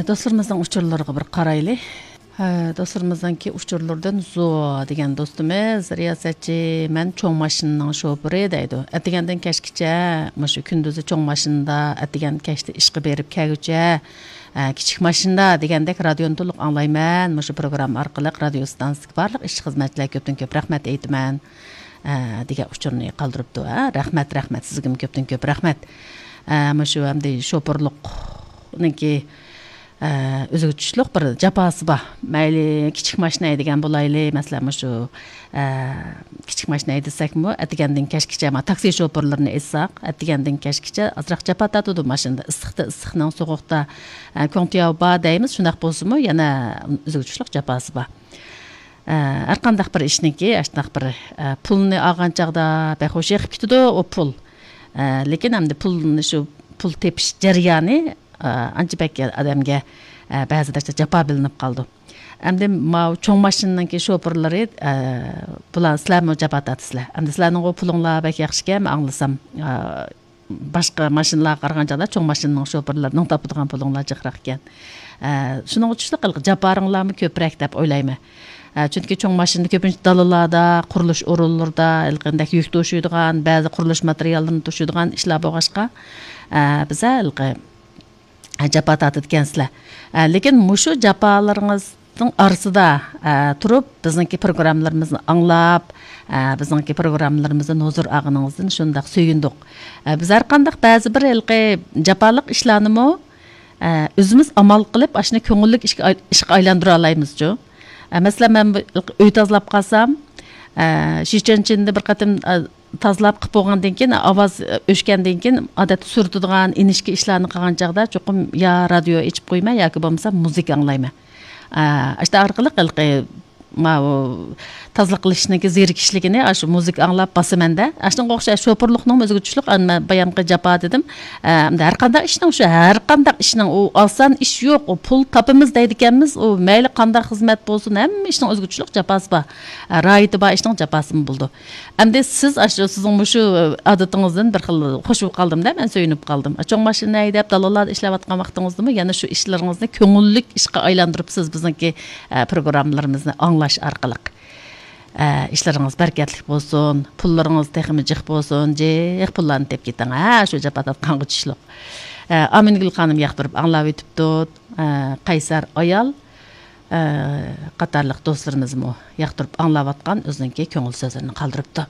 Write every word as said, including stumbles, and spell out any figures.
Досторумуздун учурларга бир карайлы. Досторумуздунки учурлардан Зо деген достумуз риясатчы, мен чоң машинанын шоферы дейди. Атигенден кечкиче мушу күндүзү чоң машинада, атиген кечти ишке берип келгүчө кичик машинада дегендек радиону толук аңлайман. Мушу программа аркылуу радио станцияга барлык иш кызматчыларга көптөн көп рахмат айтман деген учурну калтырыптыр. Рахмат, рахмат сизге көптөн көп рахмат. Мушу эмди шоферлукныңки өзгөчөлүк бир жапасы бар. Майли кичик машина деген болайлы. Маселен, мушу кичик машина десекми, атигенден кечкиче ма такси шоферлорун айтсак, атигенден кечкиче азыраак жапа татыды машинада. Ысыкты ысыкнын, соогукта контия бар дейбиз. Шундак болсуму, яна өзгөчөлүк жапасы бар. Ар кандай бир ишники, аштак бир пулны алган чагда бехош эгип кетиди о пул. Лекин эмди пулны ушу пул тепиш жарыяны анча бек адамга баазыда жапа билинип калды. Эмди мау чоң машинанын шоферлори булар силерми жапа татысызлар. Эмди силернин пулуңлар бек жакшы экен, аңласам башка машиналарга караганда чоң машинанын шоферлорунун тапыдыган пулуңлар жакыраак экен. Шуның үчүн жапарыңлармы көпүрөөк деп ойлойм. Чөнки чоң машина көпүнчө далаларда, курулуш орунларда, элгендек жүк ташыйдыган, баазы курулуш материалдарын ташыйдыган ишлер болгачка, биз элге жапа татыт экенсиздер. Лекин мушу жапаларыңыздын арасында туруп, биздинки программаларыбызды аңлап, биздинки программаларыбыздын нозур агыныңыздан шундак сүйүндүк. Биз ар кандай баазы бир элге жапалык ишларны өзүбүз амал кылып, ашыны көңүллүк ишке айландыра алабыз жо. Mesela ben öy tazlap kalsam, şişenin içinde bir katım tazlap kıp olgandan keyin, avaz öşkenden keyin adet sürtüdüğün inişki işlerini kılgan çağda çokum ya radyo içip koyma, yoki bolmasa müzik anglayma. İşte arkalık ilgi ma tazlıq qilishninki zerikishligini aşı müzik anglap basımanda. Aşın qoqşa şoförlüknün özgüçlük anma bayamqı japa dedim. Har qandaq işning şu har qandaq işning o alsan iş yo'q, o pul tapımız deydi ekanmiz. O mayli qandaq xizmat bolsun, hamma işning özgüçlük japası bar. Rayti bar işning japasını buldu. Endi siz aşı sizin şu adatingizdan bir xil xoş bo'lib qaldım da, men söyünüp qaldım. Çoğ mashina haydap dalalarda ishlab atgan vaqtingizdami, yana shu ishlaringizni ko'ngillik ishga aylantiribsiz bizniki programmalarimizni anglash orqali. İşleriniz berketlik bolsun, pullarınız texmi jiq bolsun, jiq pullarını tep keting. Ha, şu japa tatkan güçlük. Amingül xanım yaqtırıp anlap ötüptü. Qaysar ayal qatarlıq dostlarımız mı yaqtırıp anlap atkan özünki köngül sözlerini qaldırıptı.